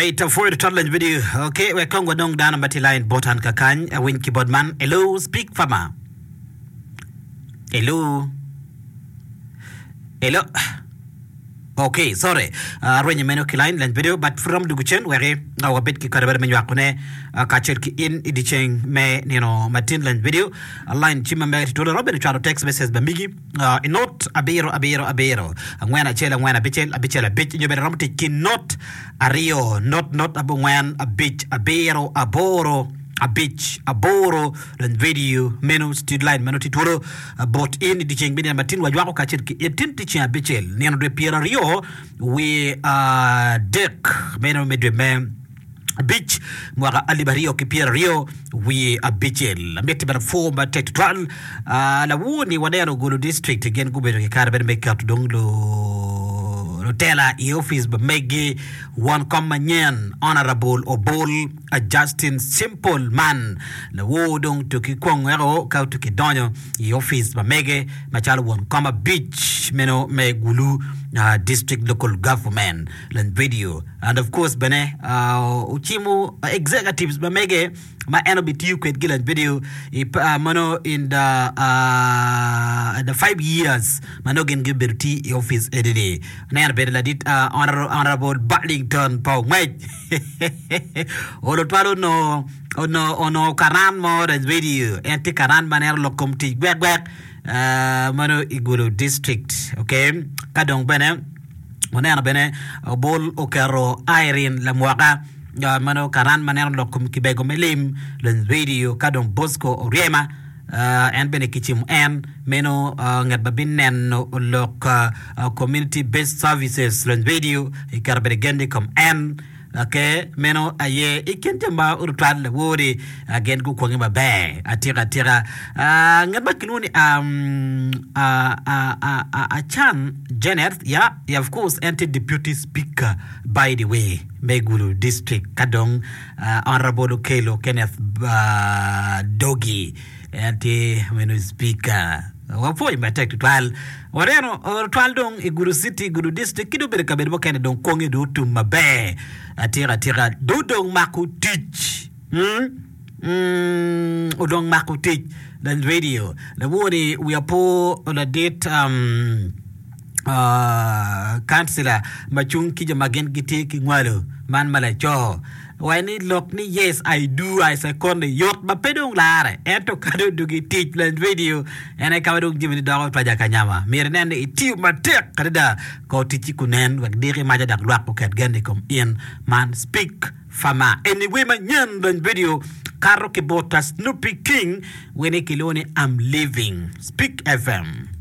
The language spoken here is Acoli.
Alright, apwoyo tutwal lany video. Okay, wek kong wanong dano ma tye line bot an kakany. Awiny ki bot man. Hello, speak farmer. Hello. Hello. Okay, sorry. Uh, arwenyo meno ki line lany video, but pud romo dugu cen weki uh, wabed ki kare bene me nywakone uh, kacel ki in i dyeceng me nino matin lany video. Uh, line cim ma mege tye twolo romo bene cwalo text message ba migi. I not abiro abiro abiro angwen acel angwen abicel abicel abic nyo bene romo tic ki not aryo not not abongwen abic abiro aboro abic aboro dong radio meno street line meno tye twolo bot in i dyeceng me nino matin wajwako kacel ki in tin tye ceng abicel nino dwe pyeraryo wiye adek meno me dwe me abic mwaka alip aryo ki pyeraryo wiye abicel. Amiti bene pwo matek tutwal. Ah, lawor-ni waneno Gulu district gin gubedo ki kare bene me keto dong lu- lutela i opic pa megi won kom manyen Honorable Obol ah, Justin Simple Man lawor dong tuki kwong weko ka tuki donyo i opic pa mege macalo won kom abic meno me Gulu ah, district local government. Lany video and of course bene ocimo executives ma mege ma en obitiyo kwedgi lany video i meno in the the 5 years ma nongo gin gibedo tye i office eni-ni. Aneno bene ladit Honorable Burlington pa Ongwec olo twal onongo onongo onongo karan mo lany video en tye karan ma neno lok kom tic gwek gwek meno i Gulu district okay ka dong bene Waneno bene obol oketo Irene lamwoka meno karan ma neno lok kom kibego me lim lony radio ka dong Bosco Oryema en bene kicimo en meno ngat ma bineno lok community based services lony radio iketo bene gen i kom en. Ok, meno aye i kin jo ma tutwal lawor-ri gin gukwonge maber atika atika. Ah, ngat ma kilwongo ni um, ah, ah, ah, ah, Achan Janet, yeah, yeah, of course, en tye deputy speaker by the way me Gulu district ka dong ah, Honorable Okello Kenneth ah, Dogi en tye meno speaker. Wapwoyo matek tutwal. Waneno tutwal dong i Gulu City, Gulu District ki dong bedo kabedo mukene dong kwonge dong otum maber atika atika. Dong odong mako tic. Mm? Mm, odong mako tic. Dan radio. Lawor-ni wiya po ladit um, uh, kancila ma cung ki jo ma gin gitye ki ngwalo man ma laco. Waco ni lok ni yes I do I second ni yot ma pe dong lare ento ka dong odwogi i tic lony radio en aye ka ma dong jamini doko twaja ka nyama. Myero inen ni itiyo matek adada kor ticci kunen wek diki maca dok lwak oket gen i kom in. Man Speak Farmer eni wer manyen lony radio kato ki bot Snoopy King wer ni kilwongo ni I'm Leaving. Speak FM.